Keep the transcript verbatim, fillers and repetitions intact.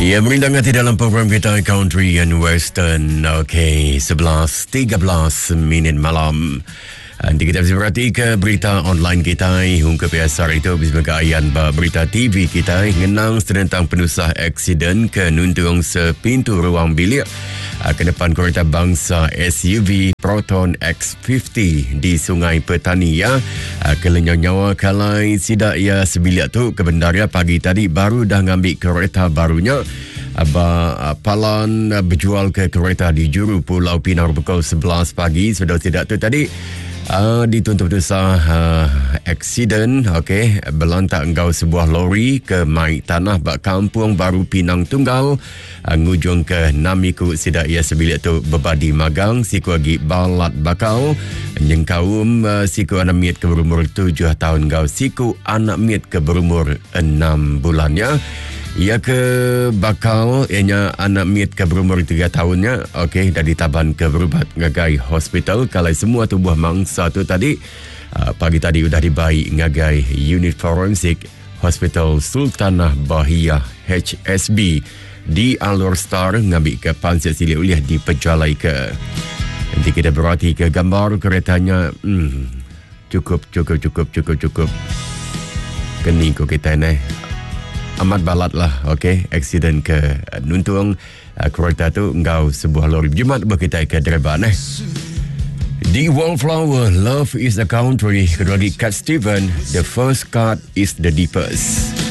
Ya, merindang hati dalam program kita Country and Western. Okey, sebelas tiga belas minit malam. Nanti kita bisa berhati ke berita online kita. Hingga biasa itu bisa bergaian berita T V kita. Ngenang tentang penusah aksiden ke nuntung sepintu ruang bilik ke depan kereta bangsa S U V Proton X lima puluh di Sungai Petani ya. Kelenyau nyawa kalai sidak ya sebilik tu kebenarnya pagi tadi baru dah ngambil kereta barunya. Aba palan berjual ke kereta di Juru Pulau Pinang pukul sebelas pagi sudah tidak tu tadi. Uh, dituntut dosa uh, aksiden okey berlantak engkau sebuah lori ke mai tanah bak Kampung Baru Pinang Tunggal uh, ngujung ke namiku sidak ia sebilik tu bebadi magang siku agi balat bakal nyengkaum uh, siku anak miet ke berumur tujuh tahun ngau siku anak miet ke berumur enam bulannya. Ia ke bakal ianya anak miet ke berumur tiga tahunnya okey dah ditaban ke berubat ngagai hospital kalau semua tubuh mangsa tu tadi uh, pagi tadi sudah dibaik ngagai unit forensik Hospital Sultanah Bahiyah H S B di Alor Star ngambil ke pansik silik uliah di pejalai ke. Nanti kita berhati ke gambar keretanya hmm, cukup cukup cukup cukup cukup keni ko kita ni. Amat balat lah, okey, aksiden ke nuntung uh, kereta tu engkau sebuah lori. Jumat berkita ke dereba eh. The Wallflower, Love is a Country. Kedua lagi Cat Steven, The First Cut is the Deepest.